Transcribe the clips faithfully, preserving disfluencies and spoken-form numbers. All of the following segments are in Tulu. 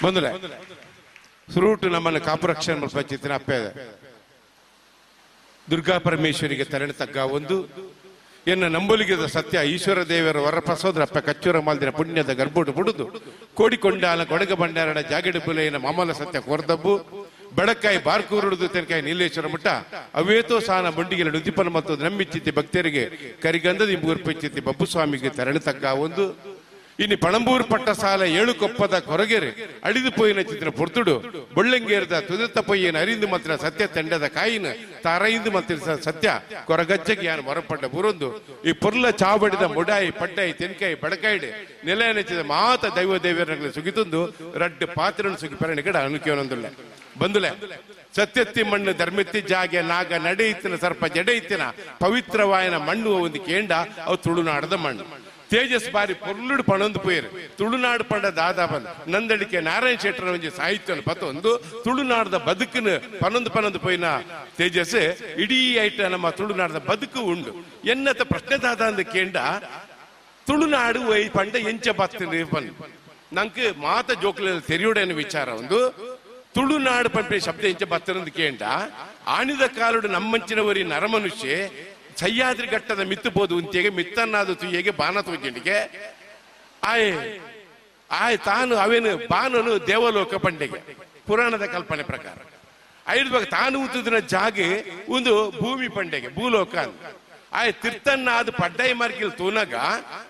ಬಂದ್ರೆ ಸುರೂಟು ನಮ್ಮನ್ನು ಕಾಪುರಕ್ಷಣೆ ಮಲ್ಪಂಚಿತ್ತಿನ ಅಪ್ಪೆ ದುರ್ಗಾ ಪರಮೇಶ್ವರಿಗೆ ತರಣೆ ತಗ್ಗ ಒಂದು ಎನ್ನ ನಂಬೊಲಿಗೆದ ಸತ್ಯ ಈಶ್ವರ ದೇವರ ವರಪ್ರಸೋದ್ರ ಅಪ್ಪ ಕಚ್ಚೂರ ಮಾಲ್ದಿನ ಪುಣ್ಯದ ಗರ್ಭೋಡು ಬುಡುದು ಕೋಡಿಕೊಂಡಾಲ ಕೊಡಗ ಭಂಡಾರಣ ಜಾಗಡಿ ಬುಲೆಯನ ಮಾಮಲ ಸತ್ಯ ಕೋರ್ದಬ್ಬು ಬೆಳಕಾಯಿ ಬಾರ್ಕೂರುಡುದು ತೆನಕಾಯಿ ನೀಲೇಶ್ವರ ಮುಟ್ಟ ಅವೇತೋ ಸಾನ ಬಂಡಿಗೆಲ ನುದಿಪನ ಮತ್ತು ನಂಬಿಚ್ಚಿತ್ತಿ ಭಕ್ತರಿಗೆ ಕರಿಗಂಧದ ಇಂಬೂರ್ಪಿಚ್ಚಿತ್ತಿ ಬಬ್ಬುಸ್ವಾಮಿಗೆ ತರಣೆ ತಗ್ಗ ಒಂದು ಇನ್ನು ಪಣಂಬೂರು ಪಟ್ಟ ಸಾಲ ಏಳು ಕೊಪ್ಪದ ಕೊರಗೆರೆ ಅಳಿದು ಪೋಯಿನ ಚಿತ್ರ ಪೊರ್ತುಡು ಬೊಳ್ಳಂಗೇರದ ತುದತ್ತ ಪೊಯ್ಯನ ಅರಿಂದು ಮಾತ್ರ ಸತ್ಯ ತಂಡದ ಕಾಯಿನ ತಾರೈಂದು ಮಾತ್ರ ಸತ್ಯ ಕೊರಗಜ್ಜಗೆ ಯಾನು ಮರಪಟ್ಟ ಬುರೊಂದು ಈ ಪೊರ್ಲ ಚಾವಡಿದ ಮುಡಾಯಿ ಪಡ್ಡಾಯಿ ತೆನ್ಕಾಯಿ ಬಡಕಾಯಿಡೆ ನೆಲ ನೆಚ್ಚಿದ ಮಾತ ದೈವ ದೇವರ ಸುಗಿತೊಂದು ರಡ್ಡು ಪಾತ್ರನ ಸುಗಿ ಪರಣಿ ಕಡೆ ಅನುಕೂಲೊಂದುಲ್ಲ ಬಂದುಲೆ ಸತ್ಯತ್ತಿ ಮಣ್ಣು ಧರ್ಮೆತ್ತಿ ಜಾಗೆ ನಾಗ ನಡೆಯಿತ್ತಿನ ಸರ್ಪ ಜಡೆಯಿತ್ತಿನ ಪವಿತ್ರವಾಯನ ಮಣ್ಣು ಒಂದು ಕೇಂಡ ಅವು ತುಳುನಾಡದ ಮಣ್ಣು. ತೇಜಸ್ ಬಾರಿ ಪೊರ್ಲುಡು ಪಣೊಂದು ಪೋಯರು ತುಳುನಾಡು ಪಂಡ ದಾದಾ ಬಂದ ನಂದಳಿಕೆ ನಾರಾಯಣ ಶೆಟ್ಟರ ಒಂಜಿ ಸಾಹಿತ್ಯ ಪತ್ತೊಂದು ತುಳುನಾಡದ ಬದುಕಿನ ಪನೊಂದು ಪನೊಂದು ಪೋಯಿನ ತೇಜಸ್ ಇಡೀ ಐಟ ನಮ್ಮ ತುಳುನಾಡದ ಬದುಕು ಉಂಡು. ಎನ್ನತ ಪ್ರಶ್ನೆ ದಾದಾ ಅಂದ ಕೇಂಡ ತುಳುನಾಡು ವೈ ಪಂಡ ಎಂಚ ಬತ್ತಿನ ಬಂದು ನಂಗೆ ಮಾತ ಜೋಕ್ಲ ತೆರಿಯುಡೇನ ವಿಚಾರ ಒಂದು ತುಳುನಾಡು ಪಂಪೆ ಶಬ್ದ ಎಂಚ ಬತ್ತಿರಂದು ಕೇಂಡ ಆಣಿದ ಕಾಲುಡು ನಮ್ಮಂಚಿನವರಿ ನರಮನುಷ್ಯ ಸಹ್ಯಾದ್ರಿ ಘಟ್ಟದ ಮಿತ್ತು ಬೋದು ಉಂತಿಗೆ ಮಿತ್ತನ್ನಾದ ತುಯ್ಯಗೆ ಬಾನ ತೋಜಿಂಡಿಗೆ ಆಯ್ ಆಯ್ ತಾನು ಅವೇನು ಬಾನನು ದೇವಲೋಕ ಪಂಡಿಗೆ ಪುರಾಣದ ಕಲ್ಪನೆ ಪ್ರಕಾರ ಐದು ಬಗ್ಗೆ ತಾನು ಉತ್ತದಿನ ಜಾಗೆ ಒಂದು ಭೂಮಿ ಪಂಡೆಗೆ ಭೂಲೋಕ ಅಂತ ಆಯ್ ತಿರ್ತನ್ನಾದ ಪಡ್ಡೈ ಮಾರ್ಕಿಲ್ ತೂನಗ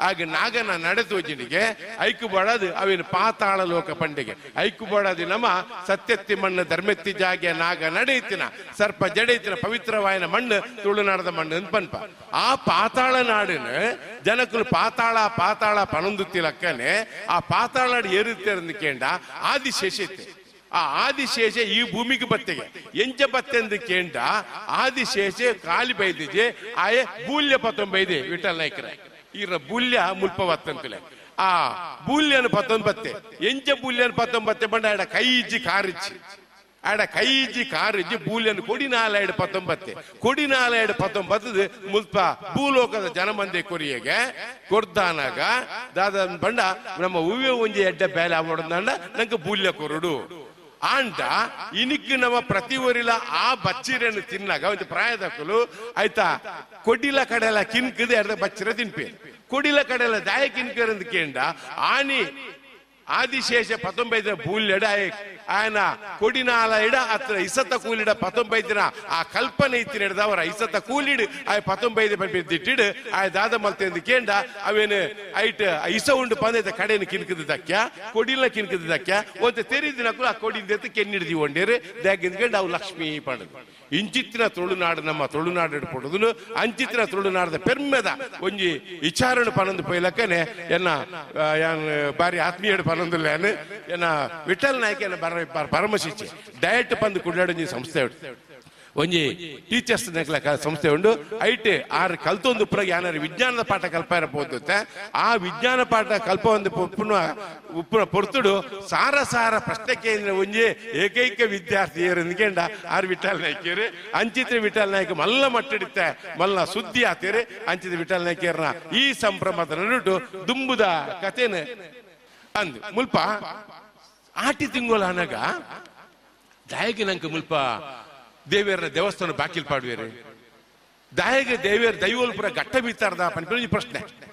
ಆಗ ನಾಗನ ನಡೆ ತೋಜಿನಿಗೆ ಐಕು ಬಡದು ಅವೇನು ಪಾತಾಳ ಲೋಕ ಪಂಡಿಗೆ ಐಕು ಬಡದು ನಮ್ಮ ಸತ್ಯತ್ತಿ ಮಣ್ಣು ಧರ್ಮೆತ್ತಿ ಜಾಗೆ ನಾಗ ನಡೆಯುತ್ತಿನ ಸರ್ಪ ಜಡೆಯುತ್ತಿನ ಪವಿತ್ರವಾಯನ ಮಣ್ಣು ತುಳುನಾಡದ ಮಣ್ಣು ಅಂತ ಪನ್ಪ. ಆ ಪಾತಾಳ ನಾಡಿನ ಜನಕುಲು ಪಾತಾಳ ಪಾತಾಳ ಪನೊಂದುತ್ತಿಲಕ್ಕನೆ ಆ ಪಾತಾಳ ಏರುತ್ತೆ ಕೇಂಡ ಆದಿಶೇಷತೆ ಆ ಆದಿಶೇಷ ಈ ಭೂಮಿಗೆ ಬತ್ತೆಗೆ ಎಂಚ ಬತ್ತೆಂದು ಕೇಂಡ ಆದಿಶೇಷ ಕಾಲಿ ಬೈದಿಜೆ ಆಯೆ ಬೂಲ್ಯ ಪತ್ತೊಂಬೈದೆ ವಿಠಲ್ ನಾಯ್ಕರ ಈರ ಬೂಲ್ಯ ಮುಲ್ಪ ಬತ್ತಂತಲೆ ಆ ಬೂಲ್ಯನ ಪತ್ತೊಂಬತ್ತೆ ಎಂಚ ಬೂಲ್ಯನ ಪತ್ತೊಂಬತ್ತೆ ಬಂಡ ಆಡ ಕೈ ಇಜ್ಜಿ ಕಾರಿಚ್ಚಿ ಆಡ ಕೈ ಇಜ್ಜಿ ಕಾರಿಜ್ಜಿ ಬೂಲ್ಯನ ಕೊಡಿನಾಲ ಎಡು ಪತ್ತೊಂಬತ್ತೆ ಕೊಡಿನಾಲ ಎಡು ಪತ್ತೊಂಬತ್ತದ ಮುಲ್ಪ ಭೂಲೋಕದ ಜನಮಂದೆ ಕೊರಿಯಗೆ ಕೊರ್ದಾನಾಗ ದಾದ ಬಂಡ ನಮ್ಮ ಹೂವೆ ಒಂಜಿ ಎಡ್ಡ ಬೇಲೆ ಆವಡಂದ ನಂಗೆ ಬೂಲ್ಯ ಕೊರಡು ಆಂಡ ಇನಿಕ್ ನಮ್ಮ ಪ್ರತಿ ಊರಿಲ ಆ ಬಚ್ಚಿರನ್ನು ತಿನ್ನಾಗ ಒಂದು ಪ್ರಾಯದಕ್ಕಲು ಆಯ್ತಾ ಕೊಡಿಲ ಕಡೆಲ್ಲ ಕಿನ್ಕದೆ ಅರ್ಧ ಬಚ್ಚಿರ ತಿನ್ಪಿ ಕೊಡಿಲ ಕಡೆಲ್ಲ ದಾಯ ಕಿನ್ಕರಂದು ಕೇಂಡ ಆನಿ ಆದಿಶೇಷ ಪತ್ತೊಂಬೈದಿನ ಬೂಲ್ಯಡ ಆಯನ ಕೊಡಿನಾಲ ಇಡ ಅತ್ರ ಇಸತ್ತ ಕೂಲಿಡ ಪತ್ತೊಂಬೈದಿನ ಆ ಕಲ್ಪನೆ ಇತ್ತಿನ ಹಿಡ್ದವರ ಇಸತ್ತ ಕೂಲಿಡು ಆಯ್ ಪತ್ತೊಂಬೈದು ದಿಟ್ಟಿಡು ಆಯ್ ದಾದ ಮಲ್ತೆಂದು ಕೇಂಡ ಅವೇನು ಐಟ್ ಇಸ ಉಂಡು ಪಂದೈತ ಕಡೆಯನ್ನು ಕಿನ್ಕದ ದಕ್ಯ ಕೊಡಿಲ ಕಿನ್ಕದ ದಕ್ಯ ಒಂತೆ ತೆರಿದಿನಕ್ಕೂ ಆ ಕೊಡಿಂದ ಕೆನ್ನಿಡ್ದಿ ಒಂಡೇರು ದಾಗಿಂದ್ಕಂಡು ಅವು ಲಕ್ಷ್ಮೀ ಪಂಡದು. ಇಂಚಿತ್ತಿನ ತುಳುನಾಡು ನಮ್ಮ ತುಳುನಾಡು ಪಡೋದು ಅಂಚಿತ್ತಿನ ತುಳುನಾಡದ ಪೆರ್ಮೆದ ಒಂಜಿ ವಿಚಾರಣೆ ಪನೊಂದು ಪೊಯ್ಲಕ್ಕನೆ ಎನ್ನ ಬಾರಿ ಆತ್ಮೀಯಡು ಪನೊಂದುಲ್ಲ ಎನ್ನ ವಿಠಲ್ ನಾಯ್ಕ ಎನ್ನ ಪರಮಶಿಷ್ಯ ಡಯಟ್ ಪಂದು ಕುಡ್ಲಾಡು ಸಂಸ್ಥೆ ಉಂಟು ಒಂಜಿ ಟೀಚರ್ಸ್ ಸಂಸ್ಥೆ ಉಂಡು ಐಟ್ ಆರು ಕಲ್ತೊಂದು ಪುರಗೆ ಯಾರು ವಿಜ್ಞಾನದ ಪಾಠ ಕಲ್ಪ ಪೋದುತ್ತೆ ಆ ವಿಜ್ಞಾನ ಪಾಠ ಕಲ್ಪ ಒಂದು ಉಪ್ಪುನ ಉಪ್ಪುನ ಪೊರ್ತುಡು ಸಾರ ಸಾರ ಪ್ರಶ್ನೆ ಕೇಂದ್ರ ಒಂಜಿ ಏಕೈಕ ವಿದ್ಯಾರ್ಥಿ ಏರು ಆರ್ ವಿಠಲ್ ನಾಯ್ಕರು ಅಂಚಿತ್ರ ವಿಠಲ್ ನಾಯ್ಕ ಮಲ್ಲ ಮಟ್ಟಿಡುತ್ತೆ ಮಲ್ಲ ಸುದ್ದಿ ಆತೀರಿ ಅಂಚಿತ್ರ ವಿಠಲ್ ನಾಯ್ಕರ್ನ ಈ ಸಂಭ್ರಮದ ನಡುಟು ದುಂಬುದ ಕಥೆನ ಅಂದು ಮುಲ್ಪ ಆಟಿ ತಿಂಗಳ ಅನಗ ದಾಯಗೆ ನಂಗೆ ಮುಲ್ಪ ದೇವಿಯರ ದೇವಸ್ಥಾನ ಬಾಕಿಲ್ ಪಾಡುವೇರಿ ದಾಯಗೆ ದೇವಿಯರ ದೈವೋಲ್ಪುರ ಘಟ್ಟ ಬೀತಾರ್ದ ಪನ್ಪಿನ ಪ್ರಶ್ನೆ.